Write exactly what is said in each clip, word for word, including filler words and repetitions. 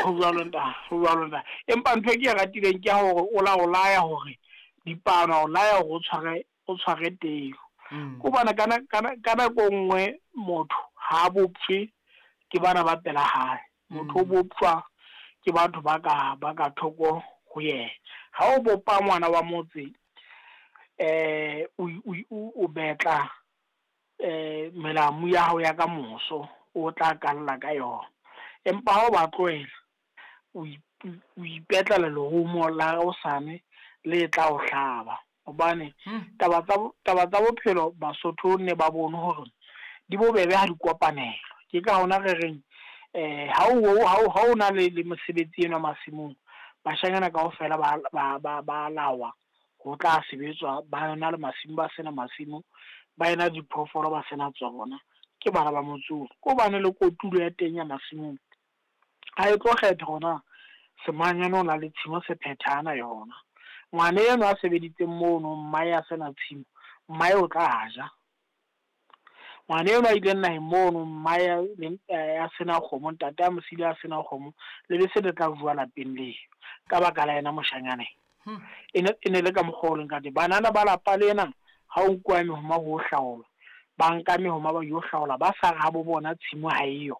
Ho jwalo ntate, ho jwalo ntate. Empa ntho e ke e ratileng ke ya hore o la o laya hore dipano, o laya hore o tshware o tshware teu. Mm. Ko bana kana kana ka nako nngwe motho ha boptjwe ke bana ba pela hae. Motho o Mm. boptjwa ke batho ba ka ba ka thoko ho yena. Ha o bopa ngwana wa motse, eh o o o betla eh melamu ya hao ya ka moso o tla kalla ka yona. Empa ha o ba tlohela, o o ipetlela lerumo la hosane le tla o hlaba. Hobane Hmm. taba tsa taba tsa bophelo Basotho ne ba bone hore di bobebe ha di kopanelwa. Ke ka hona re reng eh ha o ha o ha o na le le mosebetsi enwa masimong, bashanyana kaofela ba ba ba ba lawa ho tla sebetswa, ba na le masimo, ba sena masimo, ba ena diphoofolo, ba sena tsona, ke bana ba motse oo. Ko bane le kotulo ya teng ya masimong, ha e tlo kgetha hore na semanyane o na le tshimo sephethana yona. Ngwana enwa a sebeditseng mono, mmae a sena tshimo, mmae o tla ja. Ngwana enwa a ileng naheng mono, mmae a sena kgomo, ntate a mo siile a sena kgomo, lebese le tla jowa lapeng leo ka baka la yena moshanyana. Hmm. E ne e ne le ka mokgwa o leng ka teng. Banana ba lapa lena ha o nkuwa mehoma ho hlaolwa, ba nka mehoma ba yo hlaola, ba sa re ha bo bona tshimo ha eyo.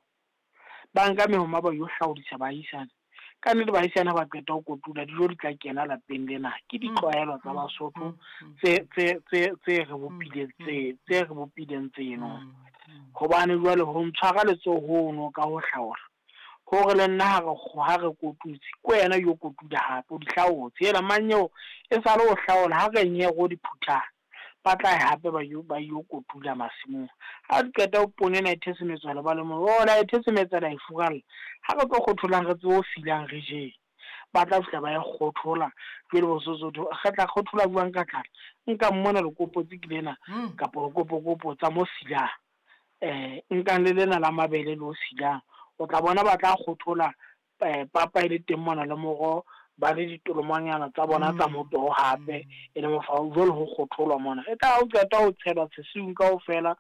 Ba nka mehoma ba yo hlaodisa baahisane. Ka nnete baahisane ha ba qeta ho kotula, dijo di tla kena lapeng lena. Ke ditlwaelo tsa Basotho tse tse tse tse re bopileng tse tse re bopileng tseno. Hobane jwale ho ntshwara letsoho hono ka ho hlaola, hore le nna ha re ha re kotutse, ke wena yo kotula hape o di hlaotse. Hela manyeo e sale o hlaola, ha re nye ro di phuthang, ba tla ya hape ba yo ba yo kotula masimong. Ha di qeta ho poone ena e thesemetswa le ba le mo, oh la e thesemetsa la e furalla. Ha re tlo kgotholang re tsebe ho silang re jeng. Ba tla fihla ba e kgothola, jwale bo re tla kgothola jwang ka tlala? Nka mona lekopotsi ke lena Mm. kapa lekopokopo tsa mo silang. Eh nkang le lena la mabele le o silang. O tla bona ba tla kgothola eh papa e le teng mona le moroho, ba le ditolomanyana tsa bona tsa Mm. motoho hape e le mofao, jwale ho kgotholwa mona. E tla ha o qeta ho tshelwa sesiung kaofela,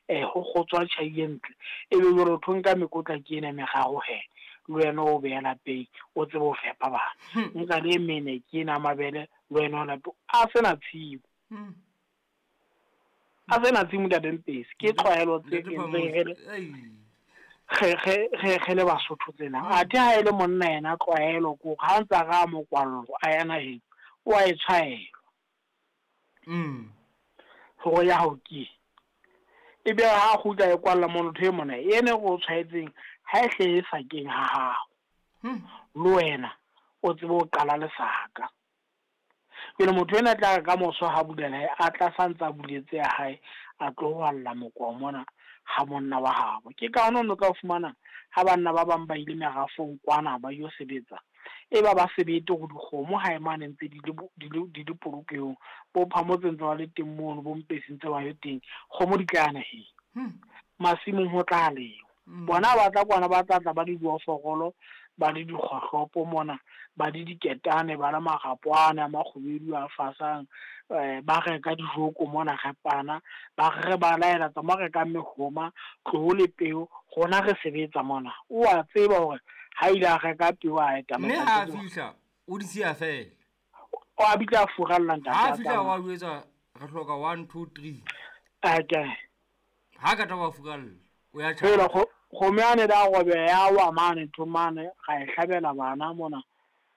eh ho kgotswa tjhai e ntle, ebe jwale o tlo nka mekotla ke ena e meraro hee, le wena o beha lapeng o tsebe ho fepa bana. Hmm. Nka le e mene ke ena ya mabele, le wena o lapeng, a sena tshimo. Hmm. A sena tshimo ntate Mpesi, ke tlwaelo tse Ntate entseng re le Phamotse, ei. re re re re le Basotho tsena. Mm. Athe ha e le monna yena tlwaelo ke hore ha ntsa ra mokwallo a ya naheng, o a e tshwaelwa. Mm. Hore ya hao ke eng. Ebe ha kgutla e kwalla mono ntho e mona, ene e o tshwaetseng ha e hle e sakeng ha hao. Hmm. Le wena o tsebe ho qala lesaka. Pele motho ena tla re ka moso ha bulela hae, a tla sa ntsa buletse ya hae, a tlo hwalla mokoa mona ha monna wa habo. Ke ka hona o no tla fumana ha banna ba bang ba ile merafong kwana ba yo sebetsa, e ba ba sebete hore dikgomo hae mane ntse di le di le di le polokehong, bo Phamotse ntse ba le teng mono, bo Mpesi ntse ba le teng, kgomo di tla ya naheng. Hmm. Masimong ho tla lengwa. Mm. Bona ba tla kwana, ba tla tla ba le dioforolo, ba le dikgohlopo mona, ba le diketane, ba le marapo ana a makgubedu a fasang, eh ba reka dijoko mona re pana, ba re ba laela tsamaya reka mehoma, tloho le peo, rona re sebetsa mona. O a tseba hore ha ile a reka peo a eta Mme ha a fihla, o di siya fela. O a bitla a furalla ntate. Ha a a fihla tsamaya. wa jwetsa re hloka one two three. Ake. Ha ka tla wa furalla, o ya Fela tjhaba. kgo kgomo yane da robeha ya wa mane ntho mane, ra e hlabela bana mona,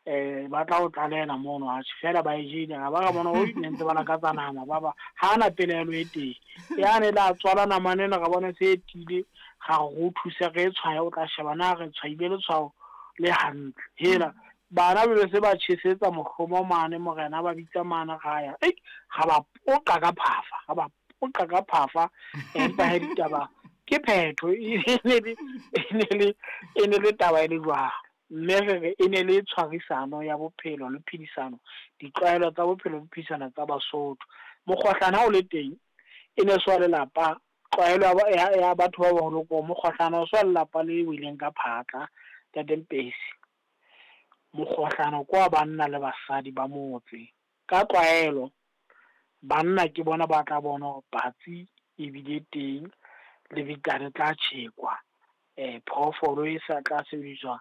eh ba tla o tlalehela mono, atjhe fela ba e jele, ra ba ra bona o ne ntse ba lakatsa nama, ba ba ha na pelaelo e teng. Yane la tswala namane ena, ra bona se e tiile, ra re ho thusa re e tshwaye, o tla sheba na re tshwaile letshwao le hantle. Hela bana be se ba tjhesetsa mohlomo mane, morena ba bitsa mane ra ya, ei ra ba poqa ka phafa, ra ba poqa ka phafa, empa he ditaba ke phetho, e ne le e ne le e ne le taba e le jwalo. Mme re re e ne le tshwarisano ya bophelo le phedisano, ditlwaelo tsa bophelo le phedisano tsa Basotho. Mokgohlane ha o le teng, e ne se wa lelapa, tlwaelo ya ya batho ba baholo ko mokgohlane o se wa lelapa le weleng ka phatla, ntate Mpesi. Mokgohlane ke wa banna le basadi ba motse. Ka tlwaelo banna ke bona ba tla bona hore patsi e bile teng, lebitla le tla tjhekwa, eh phoofolo e sa tla sebediswa.